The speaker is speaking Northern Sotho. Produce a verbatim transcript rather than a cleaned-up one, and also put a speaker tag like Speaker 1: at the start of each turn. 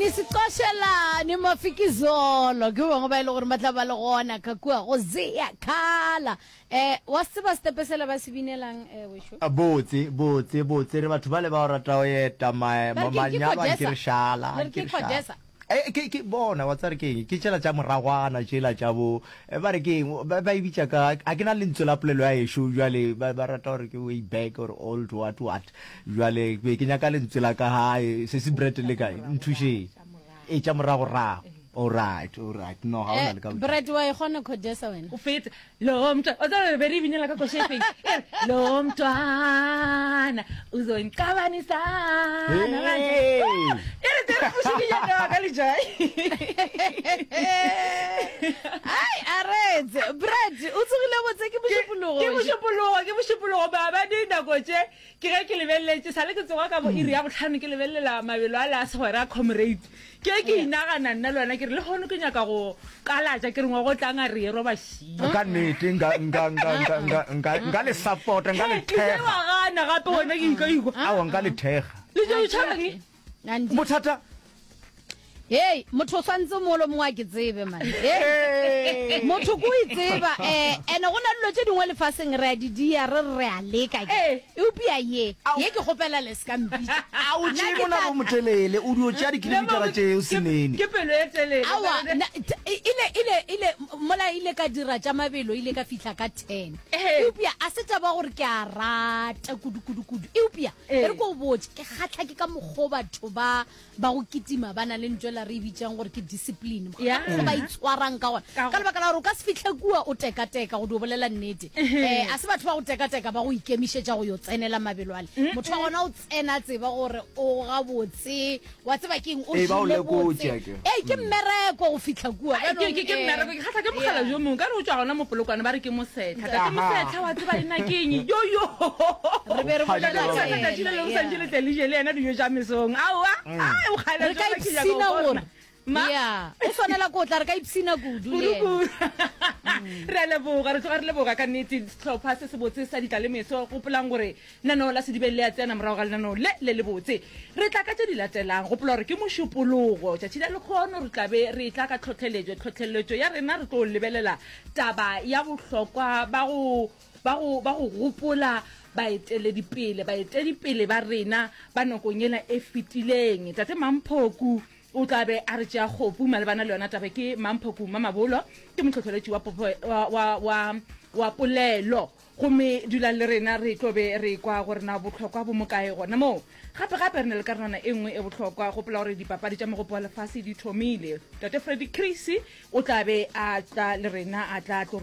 Speaker 1: Isicošelane Mafikizolo ke bangwe ba e le gore ba tla ba le gona ka kua go Zea Khala. Um wa se tseba setepe sela ba se binelang um wešo?
Speaker 2: A Botse, botse, botse, re batho bale ba go rata go eta ma,
Speaker 1: Ba re ke, ke
Speaker 2: manyalo a nke
Speaker 1: Codesa.
Speaker 2: re šala,
Speaker 1: Le re
Speaker 2: anke
Speaker 1: ke
Speaker 2: re šala.
Speaker 1: Codesa.
Speaker 2: Eh, ke, ke bona, wa tseba re ke eng, ke tšela tša moragwana tšela tša bo, eh, ba re ke eng, ba, ba e bitša ka, ga ke na lentswe la polelo ya ešo bjale, ba, ba rata gore ke way back or old what what, bjale ke be ke nyaka lentswe la ka gae, sesi Brett le kae, nthušeng. E tša moragorago. Alright, alright, no ga o na
Speaker 1: Eh,
Speaker 2: le ka bothata.
Speaker 1: Brett wa e kgona Codesa wena?
Speaker 3: O fetsa lo mntwana o tseba re be re e binela ka koša e feng e re lo mntwana uzongicabanisana manje
Speaker 2: Hey!
Speaker 3: e re tere mošikinyana wa ka lejai.
Speaker 1: Ai, aretse. Brett, o tsogile botse ke
Speaker 3: ke
Speaker 1: mošupologo.
Speaker 3: ke mošupologo ke mošupologo maabane nako tše ke ge ke lebeleletše sale ke tsoga ka bo iri ya botlhano ke lebelelela mabelo a le a segwera a comrade ke ke inagana nna le wena ke re le kgono ke nyaka go kalatša ke re ngwago tlang a re ye roba šia
Speaker 2: Ka nnete nka nka nka nka nka nka nka le support nka le
Speaker 3: le tše
Speaker 2: thekga.
Speaker 3: wa gana gape wena ke ika ikwa
Speaker 2: Aowa nka le thekga.
Speaker 3: le tše o tšhabang
Speaker 1: Nandi.
Speaker 2: Bothata
Speaker 1: Hei, motho o swantse molo mongwe a ke tsebe man. Hei, motho ko e tseba eh ene go na dilo tše dingwe lefaseng re a di dia re re a leka ke.
Speaker 3: Ee.
Speaker 1: Eupša ye, ye ke kgopela le se ka mpitša.
Speaker 2: A o
Speaker 1: Nna
Speaker 2: tšee
Speaker 1: ke
Speaker 2: monabo
Speaker 1: tla
Speaker 2: o motelele, o dio tšea dikilomitara tšeo senene.
Speaker 3: Ke pelo e telele.
Speaker 1: Aowa, nna t- ile ile ile mola ile ka dira tša mabelo ile ka fihla ka ten.
Speaker 3: Ee.
Speaker 1: Eupša a se taba gore ke a rata kudu kudu kudu. Eupša
Speaker 3: Ee.
Speaker 1: e re ko o botše ke kgatlha ke ka mokgwa o batho ba ba go kitima ba na le ntho ela re e bitsang gore ke discipline
Speaker 3: Yeah.
Speaker 1: go ba itshwarang ka gona
Speaker 3: Ka
Speaker 1: ka lebaka la gore o ka se fihle kua o tekateka go dio bolela nnete um a se batho ba go tekateka ba go ikemišetša go yo tsenela mabelo ale motho wa gona o tsena tseba gore o gabotse wa tseba ke eng o
Speaker 2: Ee, ba o
Speaker 1: jele
Speaker 2: lekotše
Speaker 1: botse
Speaker 2: akere.
Speaker 1: ee ke mmereko go fihla kua
Speaker 3: Ai, ke ke- ke mmereko ke kgatlha ke mogala jo mongwe ka re o tswa gona mo polokwane ba re ke mosetlha tate
Speaker 2: Aha.
Speaker 3: mosetlha wa tseba ena ke eng yo yo
Speaker 1: Re be re bolela
Speaker 3: Tate
Speaker 1: ka
Speaker 3: mosetlha tšatši le
Speaker 1: yena,
Speaker 3: lengwe
Speaker 1: yeah.
Speaker 3: santše le tle le je le yena dijo tša mesong aowa ai o kgale
Speaker 1: re ka
Speaker 3: jona ke nyaka
Speaker 1: ipshina
Speaker 3: go
Speaker 1: gore
Speaker 3: bona. Ma
Speaker 1: ya o swanela ko tla re ka ipshina kudu le yena.
Speaker 3: kudu-kudu re a leboga re tloga re leboga ka nnete sehlopha se sebotse sa ditla le meso gopolang gore lenaneo la sedibeng le a tsena morago ga lenaneo le le lebotse re tla ka tše di latelang gopola gore ke mošupologo tšatši la lekgono re tlabe re tla ka tlhotlheletšo tlhotlheletšo ya rena re tlo lebelela taba ya bohlokwa ba go ba go ba go gopola baeteledipele baetedipele ba rena ba nakong ela e fetileng tate Mamphoku o tla be a re tšea kgopu malebana le yona taba ke Mamphoku Mamabolo ke mohlohleletši wa, popo, wa, wa, wa, wa polelo gomme dulang le rena re tlo be re kwa gore na bohlokwa bo mokae gona moo gape gape re na le karolwana e nngwe e bohlokwa gopola gore dipapadi tša mogopo wa lefase di thomile tate Freddy Chris o tla be a tla le rena a tla tlo